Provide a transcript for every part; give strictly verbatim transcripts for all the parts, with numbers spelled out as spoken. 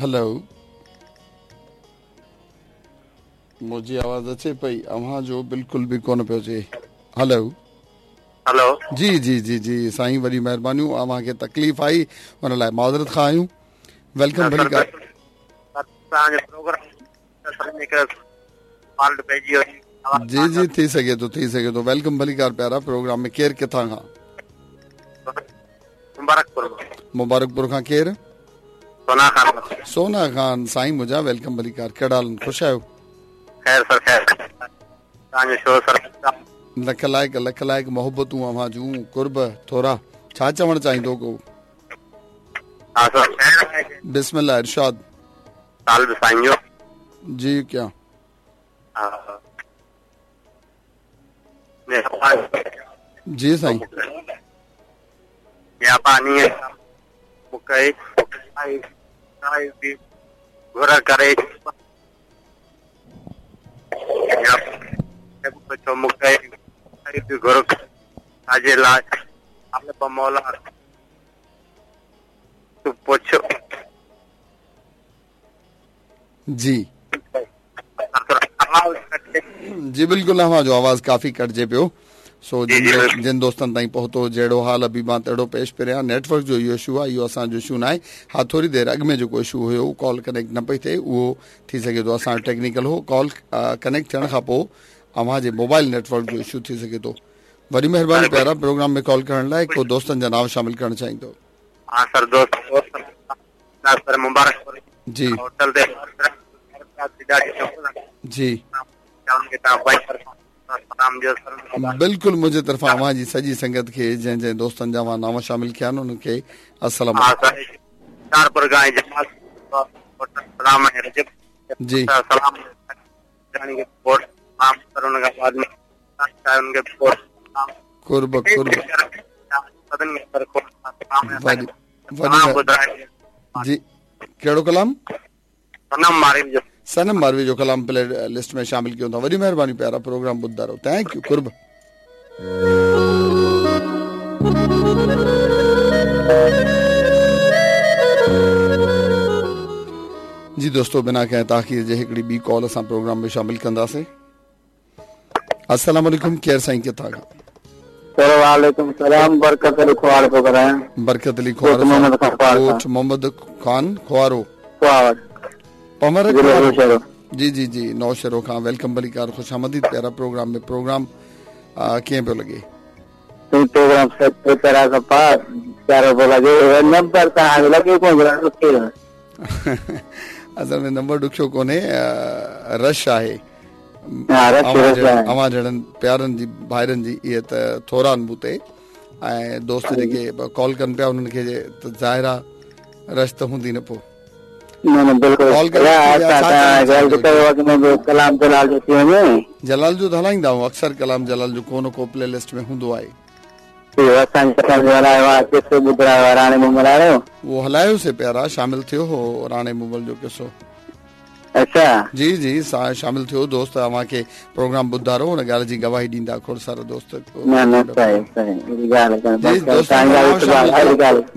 Hello, मुंहिंजी आवाज़ अचे पई? अव्हां जो बिल्कुलु बि कोन पियो अचे। हेलो हेलो, जी जी जी जी साईं, वॾी महिरबानियूं। अव्हांखे तकलीफ़ आई उन लाइ माज़रत खां आहियूं। Welcome भली का। जी जी, थी सघे थो, थी सघे थो। Welcome भलीकार प्यारा प्रोग्राम में। केरु किथां खां? मुबारकपुर। मुबारकपुर खां केरु? सोना खान। सोना खान साईं मुंहिंजा, welcome भलीकार। कहिड़ा हाल, ख़ुशि आहियो? ख़ैर सर, ख़ैर। तव्हांजो शो सर। लख लाइक़, लख लाइक़ मोहबतूं अव्हां जूं, कुर्ब थोरा। छा चवणु चाहींदो को? हा सर। बिस्मिल्लाह, इरशाद। साल बि साईं जो। जी क्या? हा जी साईं। या पानी मूंखे घुर करे मूंखे घुर छाजे लाइ मौला तूं पुछ। जी जी बिल्कुलु, अव्हां जो आवाज़ काफ़ी कटिजे पियो। सो जिन जिन दोस्तनि ताईं पहुतो जहिड़ो हाल अभी मां तहिड़ो पेश पियो आहियां। नेटवर्क जो इहो इशू आहे, इहो असांजो इशू न आहे। हा, थोरी देरि अॻु में जेको इशू हुयो, कॉल कनेक्ट न पई थिए, उहो थी सघे थो असांजो टेक्निकल हो। कॉल कनेक्ट थियण खां पोइ अव्हांजे मोबाइल नेटवर्क जो इशू थी सघे थो। वॾी महिरबानी प्यारा प्रोग्राम में कॉल करण लाइ। को दोस्तनि जा नाम शामिल करणु चाहींदो? हा सर, दोस्त सर मुबारक जी होटल ते जी बिल्कुलु। मुंहिंजे तरफ़ां अव्हां जी सॼी संगत खे, जंहिं जंहिं दोस्तनि जा अव्हां नाम शामिल कया आहिनि, उन्हनि खे अस्सलाम। जी कुर्ब कुर्ब जी। कहिड़ो कलाम? सनम मारवी जो। सनम मारवी जो कलाम प्ले लिस्ट में शामिल कयूं था। वॾी महिरबानी प्यारा, प्रोग्राम ॿुधंदा रहो। Thank you, कुर्ब। जी दोस्तों, बिना कंहिं ताख़ीर जे हिकिड़ी ॿी कॉल असां प्रोग्राम में शामिल कंदासीं। अस्सलाम वालेकुम, केरु साईं, किथां खां? सर वालेकुम सलाम, बरकत अली खुआर थो ॻाल्हायां। बरकत अली खुआर, ॻोठ मोहम्मद खान खुआरो, पमर। जी जी जी, नौशहरो खां। Welcome भलीकार, ख़ुशि आमदीद प्यारा प्रोग्राम में। प्रोग्राम कीअं पियो लॻे? प्रोग्राम प्यारो पियो लॻे। नंबर तव्हांजो लॻे कोन? असल में नंबर ॾुखियो कोन्हे, रश आहे। अव्हां जहिड़नि प्यारनि जी भाइरनि जी इहे त थोरा आहिनि मूं ते, ऐं दोस्त जेके कॉल कनि पिया उन्हनि खे त ज़ाहिर आहे रश त हूंदी न पोइ। न न बिल्कुलु। कलाम जलाल जो थी वञे। जलाल जो त हलाईंदा आहियूं अक्सर, कलाम जलाल जो को न को प्ले लिस्ट में हूंदो आहे। उहो हलायोसीं प्यारा, शामिल थियो हो राणे मुगल जो किसो। अच्छा जी जी, शामिल थियो दोस्त। अव्हांखे प्रोग्राम ॿुधंदा रहो, हुन ॻाल्हि जी गवाही ॾींदा खोड़ सारा दोस्त।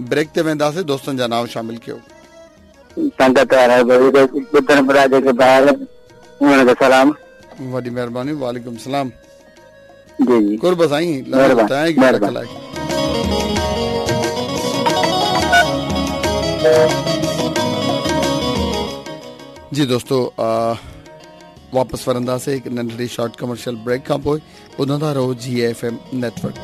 ब्रेक ते वेंदासीं, दोस्तनि जा नाम शामिल कयो। संगत ॿुधण पिया जेके ॿाहिरि, उन्हनि खे सलाम। वॾी महिरबानी, वालेकुम सलाम। जी जी, कुर्ब साईं, thank you, लख लाइक़। जी दोस्तों, वापसि वरंदासीं हिकु नंढड़ी शॉर्ट कमर्शियल ब्रेक खां पोइ। ॿुधंदा रहो जी एफ एम नेटवर्क।